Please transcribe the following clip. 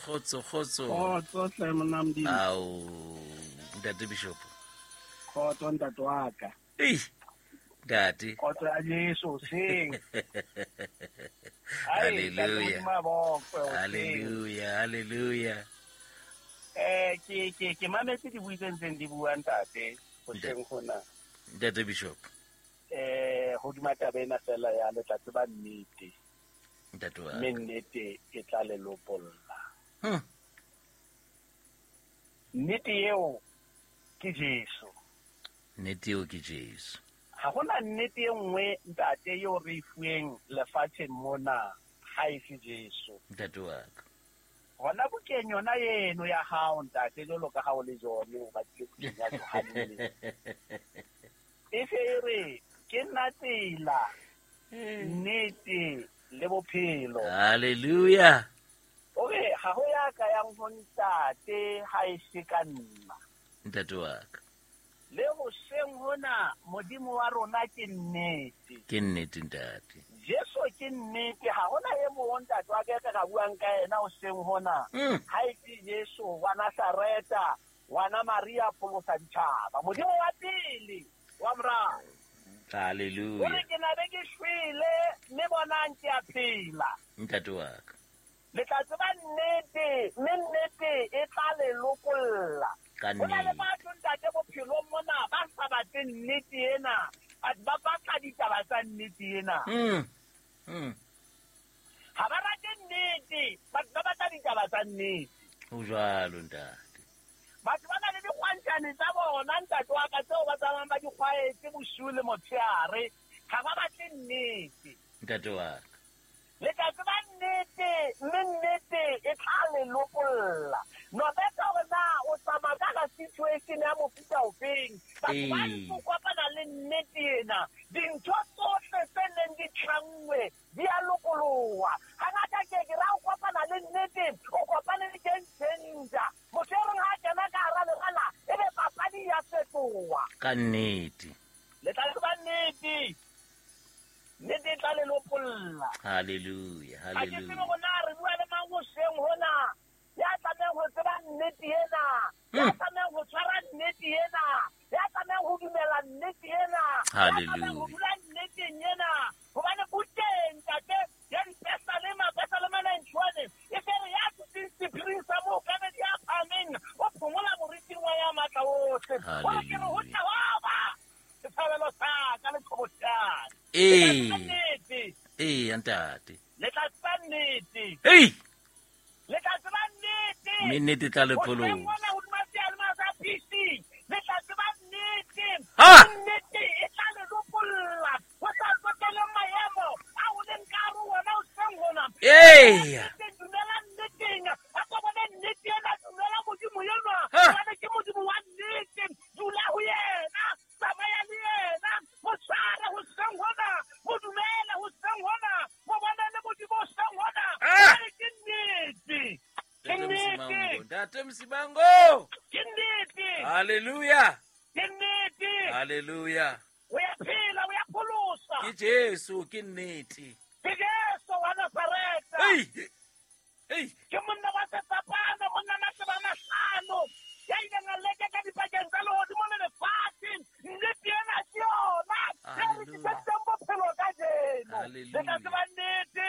Kgotso, kgotso. Kgotso hle monna Modimo. Ao, ntate Bishop. Kgotso ntate wa ka. Ei, ntate. Kgotso ya Jesu hoseng. Ai, ntate Hallelujah. Modimo a bokwe hoseng. Hallelujah, hallelujah. Ke mametse dibui tse ntseng di bua ntate hoseng hona. Ntate Bishop. Hodima taba ena fela ya le tla tseba nnete. Ntate wa. Mme nnete e tla le lopolla. Nnete eo ke Jesu. Nnete eo ke Jesu. Ha hona nnete e nngwe ntate eo re e fuweng lefatsheng mona ha e se Jesu. Ntate wa ka. Hona bukeng yona eno ya hao ntate, jwalo ka ha o le jone o batlile bukeng ya Johanne. E se e re ke nna tsela, nnete le bophelo. Hallelujah. O re ha ho ya ka yang ho ntate ha e se ka nna. Ntate wa ka. Le hoseng hona Modimo wa rona ke nnete. Ke nnete ntate. Jesu ke nnete, ha hona e mong ntate wa ka e ka buang ka yena hoseng hona. Ha e se Jesu wa Nazareta, ngwana Maria pholosa ditjhaba. Modimo wa pele wa morao. Hallelujah. O re ke na be ke shwele mme bonang ke a phela. Ntate wa ka. Le tla tseba nnete, mme nnete e tla le lokolla. Ka Ho na le nnete. batho ntate bophelong mona ba sa batle nnete ena, ba batla ditaba tsa nnete ena. Ha ba rate nnete, ba batla ditaba tsa nnete. Ho jwalo ntate. Batho ba na le dikgwantjhane tsa bona ntate wa ka tseo ba tsamayang ba di kgwaetse bosiu le motshehare, ha ba batle nnete. Ntate wa ka. Le tla tseba nnete, mme nnete e tla le lopolla. No better hore na o tsamaya ka hara situation ya mofuta ofeng. Batho ba ntse o kopana le nnete ena. Dintho tsohle tse neng di tlanngwe di a lokoloha. Hangata ke ke ra o kopana le nnete, o kopane le game changer. Motho e reng ha a kena ka hara lebala, ebe papadi ya fetoha. Ka nnete. Le tla tseba nnete. Nnete e tla le lopolla. Hallelujah, Ha ke tsebe hallelujah. hore na re bua le mang hoseng hona. Ya tlamehang ho tseba nnete ena. Ya tlamehang ho tshwara nnete ena. Ya tlamehang ho dumela nnete ena. Ya tlamehang ho Hallelujah. dula nneteng ena. Hobane bukeng, ntate, ya Dipesalema, Pesalema 91, e se re ya dutseng sephiring sa mookamedi ya phahameng, o phomola moriting wa ya matla ohle. O re ke re ho Hallelujah. tla wa ba setshabelo sa ka le qhobosheane. Ee. Le tla tseba nnete. Ee, ntate. Le tla tseba nnete. Ei! Le tla tseba nnete. Mme nnete e tla le Hoseng pholosa. mona hodima seyalemoya sa PC, le tla tseba nnete. Ha! Nnete e tla le lopolla. Ho sa tsotelle maemo a o leng ka hare ho ona hoseng hona. Ee. Nnete, dumela nneteng. A ko bone nnete ena, dumela Modimo enwa. Ha! Hobane ke Modimo wa nnete. Dula ho yena. Tsamaya le yena. Mo tshware hoseng hona. Mo dumele hoseng hona. Mo bone le Modimo hoseng hona. Ah! Hobane ke nnete. Ke Ntate nnete. Msimango, Ntate Msimango. Ke nnete. Hallelujah. Ke nnete. Hallelujah. O ya phela, o ya pholosa. Ke Jesu, ke nnete.